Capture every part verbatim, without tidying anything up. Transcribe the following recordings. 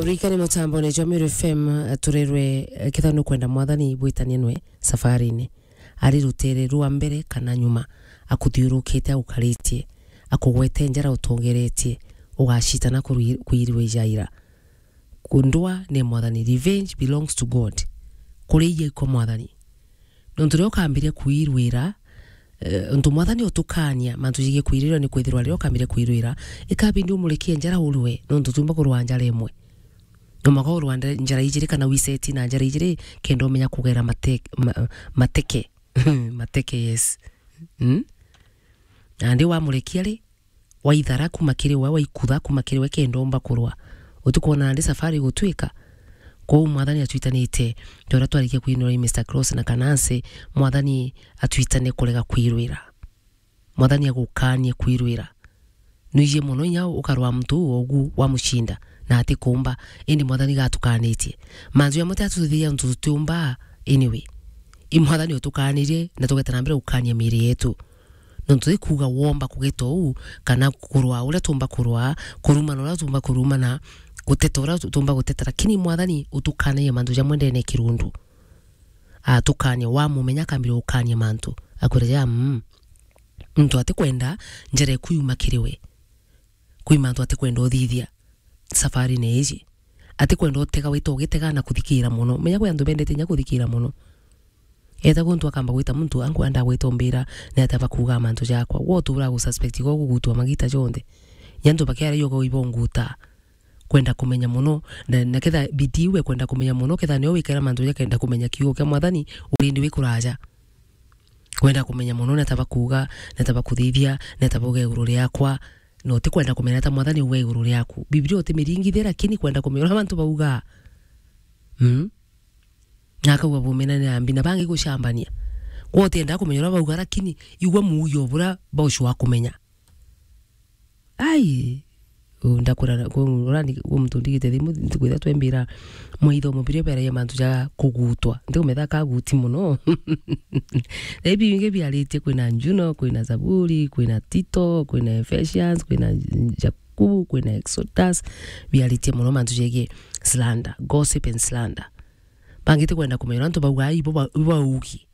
Rikani mutambone jwa Meru F M, eh, turerwe, eh, ketha nukwenda Mwathani bwitanie nwe safarini. Ari rutere rwa mbere kana nyuma, akuthiurukite, agukaritie, akugwete njara utongeretie, ugacitana kurwi-, kwirwe ijaira. Kundwa ni Mwathani, revenge belongs to God. Kuria ikwa Mwathani. Nontu riria ukambiria kwirwira, eh, untu Mwathani utukania, mantu jigii kwirwira ni kwithirwa riria ukambiria kwirwira, ikabindi umurekie njara urwe, nontu tumba kurwa njara imwe. No mwaka urwa nde-, njara ijiri kana wiseti na njara ijiri, kenda umenya kugera mate-, ma-, mateke. Mateke, yes. Mm? Nandi wamurekia ri, waithara kuma kiri we, waikutha kuma kiri we, kenda umba kurwa. Utikwona nandi safari igutwika? Kwou Mwathani atwitanite, ta uria twarikia kwinura i Mister Cross na Kanansi, Mwathani atwitane kurega kwirwira. Mwathani agukanie kwirwira. Nwiji mono inya ukarwa muntu uu ogu wamucinda, na atikumba, indi Mwathani gatukanitie. Mantu jamwe ti atutithia untu tutiumba, anyway. I Mwathani utukanirie, na tugeta na mbere gukania miiri yetu. Nontu ti kuuga womba kugeta uu, kana kurwa uria tumba kurwa, kurumana uria tumba kurumana, guteta uria tumba guteta, lakini Mwathani utukanagia mantu jamwe ndene ya kirundu. Atukania, wamumenya akambira gukania mantu. Akwira ja, mm, muntu atikwenda njara eku yuma kiri we. Kwi mantu atikwenda uthithia safarine iji. Atikwenda utega wita ugitega na kuthikira mono. Menya kwi antu bendete inya kuthikira mono. Eta guntu akamba gwita muntu, ankwenda gwita umbira, ni atia bakuuga mantu jakwa. Gwe utura gususpect gwa kugutwa magita jonthe. Inya antu bakiara iyo gwe ibonguta. Kwenda kumenya mono, na, na ketha bidii iu ekwenda kumenya mono, ketha nio wikara mantu jakenda kumenya kiugo kia Mwathani, urindi wi kuraja. Kwenda kumenya mono, ni atia bakuuga, ni atia bakuthithia, ni atia bauga iguru riakwa, na utikwenda kumenya ta Mwathani auga iguru riaku. Biblia utimiringithia, lakini kwenda kumenya uria mantu bauga. Mm? Na akauga bumena ni ambi, na bangi gucambania. Gwe utienda kumenya uria bauga, lakini igua muugi o buria baucua kumenya. Ai, u, ndakura, ku, urani, ku muntu ndigite thimu, ntikwitha twembira mwa ithomo biria biaragia mantu ja kugutwa. Ntikumenya kaguti mono. Na ibi bingi biaritie, kwina Njuno, kwina Zaburi, kwina Tito, kwina Ephesians, kwina Jakubu, kwina Exodus, biaritie mono mantu jegie slander, gossip and slander. Bangi tikwenda kumenya uria antu bauga, ai, ibo ba-, ibo baugi.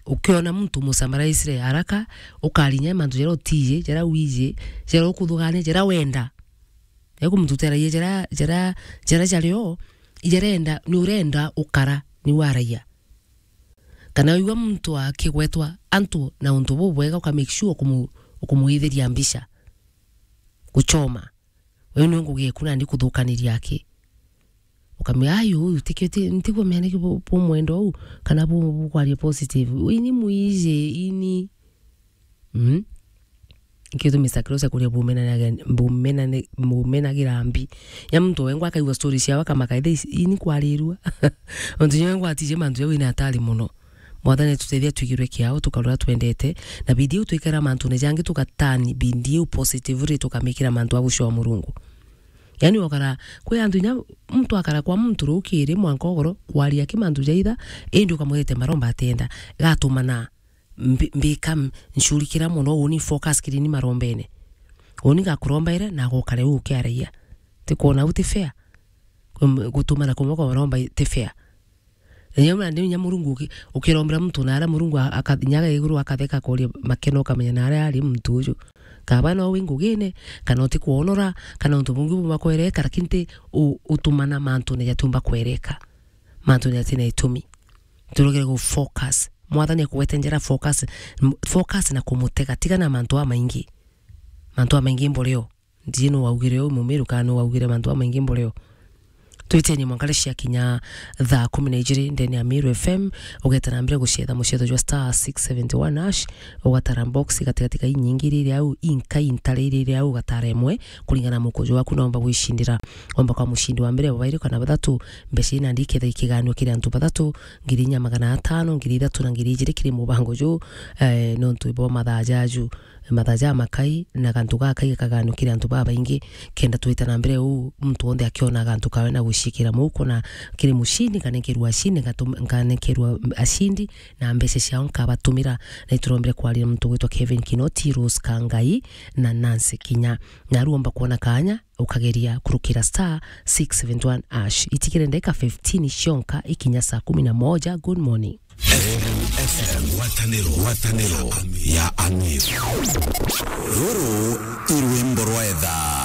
Ukiona muntu Musamaria aicire haraka, ukarinya mantu jaria utiji, jaria wiji, jaria ukuthugania, jaria wenda. Ekumututeragia jaria, jaria, jaria jario, ijarenda, ni urenda ukara, ni waragia. Kana wigua muntu akigwetwa antu na untu bubwega, uka make sure ukumu-, ukumuithiria mbica. Guchoma. Wee nwe ngugi eku nandi kuthukaniria aki. Ukamwira, "Ai, uyu tikio ti, ntigua mea niki bu-, bumwenda uu, kana bu-, bukwaria positive." Ini mwiji, ini. Mm? Ikio tu Mister Cross akuria bumenanagira, bumenane-, bumenagira mbi. Ya muntu wengwa akaigua story ciawe akamaka, "Ithe ici, ini kwarirua." Ontu nyewe ngwatije mantu jau ina hatari mono. Mwathani atutethia twigirwe kiao, tukarora twendete, na bindi iu twikara mantune jangi, tugatani bindi iu positively, tukamikira mantu a gucwa Murungu. Yani, okara, kwi antu inya muntu akara kwa muntu rukiri mwanka ugoro, kwaria ki mantu jaitha, indi ukamwirite maromba atienda, gatumana mbi-, mbika m-, ncurikira mono, uni focus kirini marombene. Uni ngakurombaira, na gukare u ukiaragia. Tikwona u ti fair. Kum-, gutumana kumwe kwa maromba i-, ti fair. Na inya, na inya Murungu uki-, ukirombera muntu na aria Murungu a-, aka-, inya aga iguru akatheka akuria makeno, ukamenya na aria ari muntu uju. Kaba no wi ngugine, kana utikwonora, kana untu bungi buma kwereka, lakini ti u-, utumana mantune jatiumba kwereka. Mantune jatina itumi. Turugire gu focus. Mwathani akugwete njira, focus, m-, focus na kumutega. Tiga na mantu amaingi. Mantu amaingi mburio. Ndiji nu waugire uu Mumiru, kana nu waugire mantu jamaingi mburio. Twiteni mwanka ria ciakinya thaa kumi na ijiri ndene ya Miru F M, ugeta na mbere gucetha mucetho jwa star six seventy one hash, ugatara box gatigati ka inyingi iria iri au, inka intare iria iri au, ugatara imwe, kuringana na mukujo waku, na umba gwicindira. Umba kwa mucindi wa mbere, wa bairi kana bathatu, mbeca ina ndiketha ikiganua kiri antu bathatu, ngiri inya magana atano, ngiri ithatu na ngiri ijiri kiri mubango ju, eh, nontu bwa mathaa jaju. mathaa ja makai, na gantu gakai gakaganukire antu babaingi, kenda twite na mbere uu, muntu wonthe akiona gantu kawe na guciikira muuko na kiri mucini, nganenkerwa ashindi, ngatum-, nganenkerwa ashindi, na mbeca ciao nkabatumira. Na iturombire kwaria na muntu ugwitwa Kevin Kinoti, Rose Kangai, na Nancy Kinya. Na ruomba kwona kanya, ukageria kurukira star six seven one hash. Itikire ndagika fifteen cionka ikinya saa kumi na moja. Good morning. F M, ngwataniro, ngwataniro ya Amir. Ruru i rwimbo rwa etha.